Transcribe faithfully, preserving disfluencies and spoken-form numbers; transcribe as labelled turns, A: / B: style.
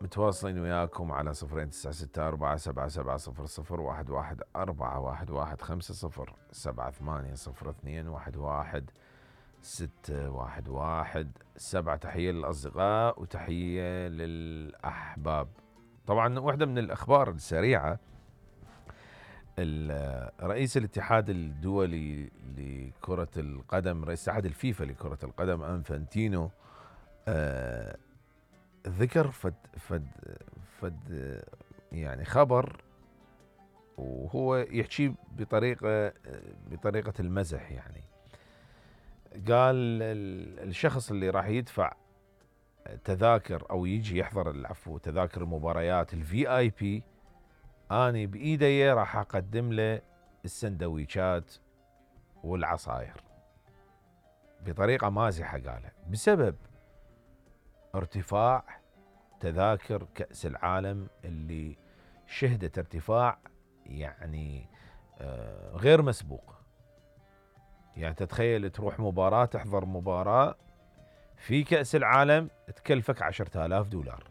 A: متواصلين وياكم على صفرين تسعة ستة أربعة سبعة سبعة صفر صفر واحد واحد أربعة واحد واحد خمسة صفر سبعة ثمانية صفر اثنين واحد واحد ستة واحد واحد سبعة. تحية للأصدقاء وتحية للأحباب. طبعا واحدة من الأخبار السريعة، رئيس الاتحاد الدولي لكرة القدم، رئيس اتحاد الفيفا لكرة القدم انفانتينو آه ذكر فد فد فد يعني خبر، وهو يحكي بطريقة بطريقة المزح. يعني قال الشخص اللي راح يدفع تذاكر او يجي يحضر العفو تذاكر المباريات الفي اي بي، اني بايدي راح اقدم له السندويشات والعصاير، بطريقة مازحة قالها، بسبب ارتفاع تذاكر كأس العالم اللي شهدت ارتفاع يعني غير مسبوق. يعني تتخيل تروح مباراة، تحضر مباراة في كأس العالم تكلفك عشرة آلاف دولار.